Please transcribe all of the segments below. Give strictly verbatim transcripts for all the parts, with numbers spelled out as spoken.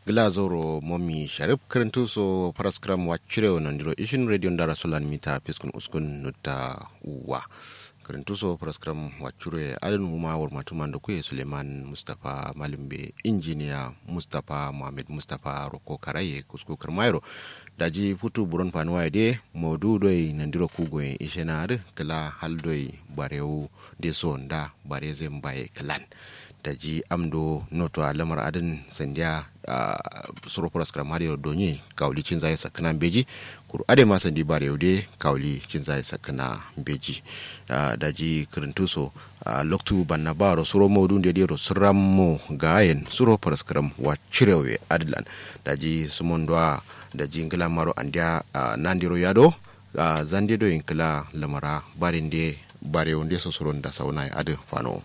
Gla zauro momi sharif kǝrǝntu so faraskǝram waccire wo nandiro ishin radio ndara solan mita fiskun uskun nutta uwa. Kǝrǝntu so faraskǝram waccire adǝn wuma wurmatu mando kuye suleiman mustapha malumbe injiniya mustapha muhammed mustapha roko karaye kusku kǝrmayero. Daji futu buron fanuwa ye de maudu doi nandiro kugoyen ishena adǝ kǝla hal doi barewu de so nda bare zai mbaye kǝlan. Daji amdo noto a lamar adǝn sandiya suro faraskǝram adǝ yero donye kawuli cinzaye sakkǝna mbeji. Kuru adǝ ma sandi barewu de kawuli cinzaye sakkǝna mbeji. Daji kǝrǝntu so loktu banna baro suro maudu nde dero sǝrammo gayen suro faraskǝram waccire we adǝlan. Daji sǝmon doa daji nglamaro andiya nandiro yado zande do inkǝla lamara barinde barewu nde so suro nda saunaye adǝ fano.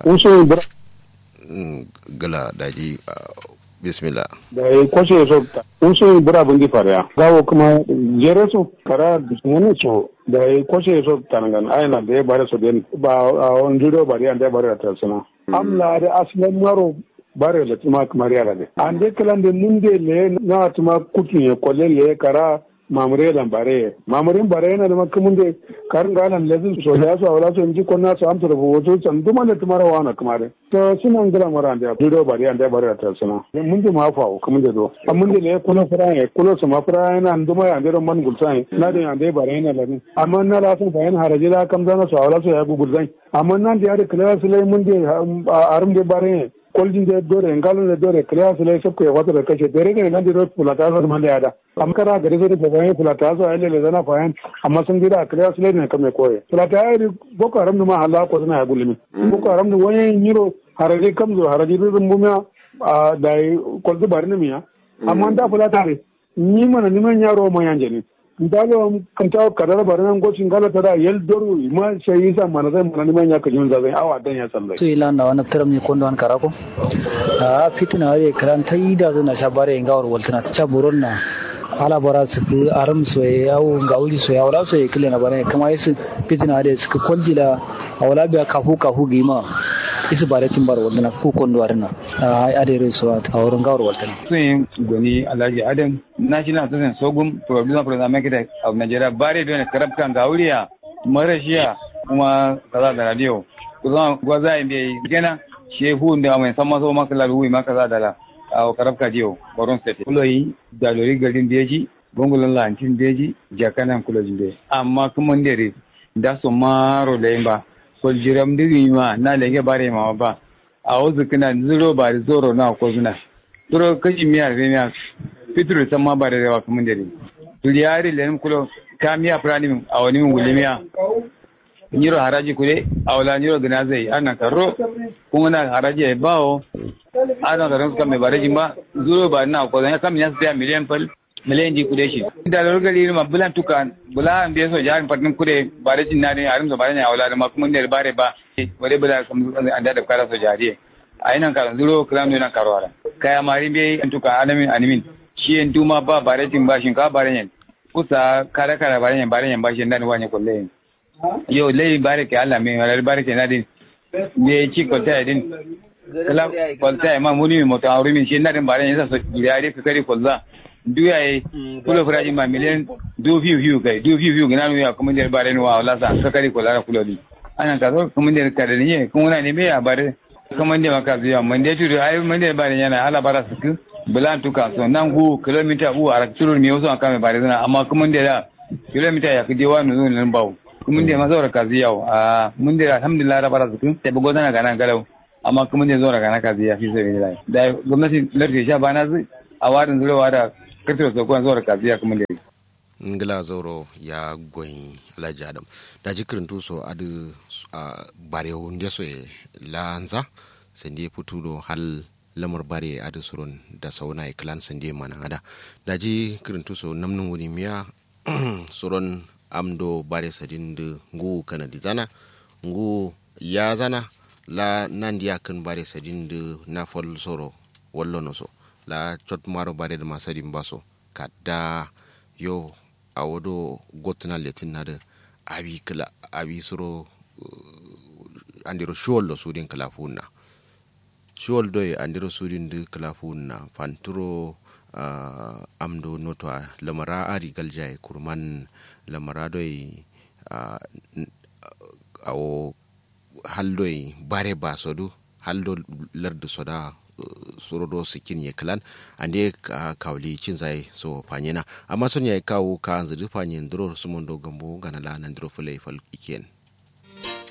Usu bra. Gla daji bismillah. Dayi koshe so usu bra bundi fariya gawo kuma jere so kara dusmuni so dayi koshe so tanangan ayana dayi bare so den ba a on judo bari ande bare ta suna. Amla da aslan maro bare da tuma kamar yara de ande klan de munde le na tuma kukin ya kolle le kara mamure lan bare mamure bare na da makamun de kar ngalan lazin so da so wala so inji konna so amsa da foto san duma da tumara wana kamare. To suna ngla mara ande judo bari ande bare ta suna mun de ma fa o kamun de do amun de le kulo fara ya kulo sama fara na nduma ya ande ro man gulsan na da ande bare na lamin amma na la san fa yan haraji la kam zana so wala so ya gugul zan amma nan da ya da kala su lai mun de arum de bare koljin de dore ngalun de dore kala su lai sabko ya wata da kashe dare ne nan de ro fulata so man da ya da amma kara gare so da bayan fulata so ai lele zana fayan amma sun gida kala su lai ne kame koye fulata ya da boko haram ma halako suna ya gulmi boko haram da wani yiro haraji kamzo haraji rurun bumiya da yi kwalzu bari na miya amma da fulata ne ni mana ni man yaro ma yanje ne ndalo kanta kadara bari nan gosi ngala tada yel doru ma sai isa mana sai mana ni man ya kajun zazai awa dan ya sallai. Su ila na wani tiram ni kondo an karako a fitina ye kran tai da zuna sha bare ngawar waltana sha buron na ala bara sukku arum soye awu ngawuri soye awla soye kile na bare kama yesu fitina de sukku koljila awla biya kafu kafu gima isu bare timbar waltana ku kondo arina a ade re so a wurin ngawar waltana. Sun goni alhaji adam national association sogum producer producer marketer of nigeria bare done karabka ngawuriya marashiya kuma kaza da radio kusan gwaza in bai gena shi hu da mai san maso maka lalu ma kaza da la a karabka diyo boron state kuloyi da lori garin beji bongolon lantin beji jakanan kulojin be amma kuma ndere da so maro da yin ba soljiram diri ma na lege bare ma ba awo zǝkkǝna zuro bari zoro na kozǝna turo kashi miya re miya fituru samma bare rewa kǝmǝnde dǝ duriya adǝ lenǝm kulo ka miya fǝranimin awonimin gullimiya nyiro haraji kude awola nyiro gǝna zai adǝ nankarro kungǝna haraji yayi bawo adǝ nankarro kamme bare jimba zuro bari na kozǝna kam nya sǝtiya miliyan fal miliyan di kude shi da lorgali ma bulan tuka bula an be so jarin fatin kude bare jin na din arim so bare ne awola ma kǝmǝnde bare ba wale bula kam anda da kara so jariye ayi nan karo zuro klan nan karo ara kaya mari be antuka alamin animin shi en duma ba bare tin ba shin ka bare yen kusa kara kara bare yen bare yen ba shi nan wanye kulle yen yo lei bare ke ala me wala bare ke nadin me ci kolta din kala kolta ma muni mo ta rumi shi nadin bare yen sa so ya de ka kari kolza duya ye kulo fura ma miliyan du fiu fiu kai du fiu fiu gina ya kuma der bare ni wa wala sa ka kari kolza kulo di anan ka so kuma der ka da ni kuma na ne me ya bare kǝmande ma kaziya mande tudu ai mande bare yana ala bara sǝkkǝ bǝlan tuka so nan gu kilomita gu arak tulur miyo so an kame bare zǝna amma kǝmande da kilomita yakkǝ dewa nuzun nan bawo kǝmande ma zaura kaziya wo a mande alhamdulillah da bara sǝkkǝ te bugo zana gana galau amma kǝmande zaura gana kaziya fi sabilillah da gomnati lardi sha bana zǝ awadin zuro wada kǝrtǝ so ko zaura kaziya kǝmande ngla zauro ya goyi alhaji adam daji kǝrǝntu so adǝ barewu nde so ye lanza sande futu do hal lamar bare adǝ suron da sauna ye kǝlan sande mana ada daji kǝrǝntu so namnǝ nguni miya suron amdo bare sadin dǝ nguwu kanadi zana nguwu ya zana la nandi yakkǝn bare sadin dǝ nafal soro wallono so la cot maro bare dǝ ma sadin ba so kadda yo awo do gottǝna lettǝnna dǝ awi kǝla awi suro andero shiwollo sudin kǝla fuwunna Shiwal doi andiro sudin dǝ kǝla fuwunna fanturo. Amdo noto a lamara ari galjaye kurman lamara doi. Awo hal doi bare ba sodu hal do lardu soda suro do sikkin ye klan. Ande kawli cinzaye so fanyena amma son yayi kawu kanzǝ dǝ fanyen duro sumondo gambo gana la nandiro fǝlai fal ikiyen.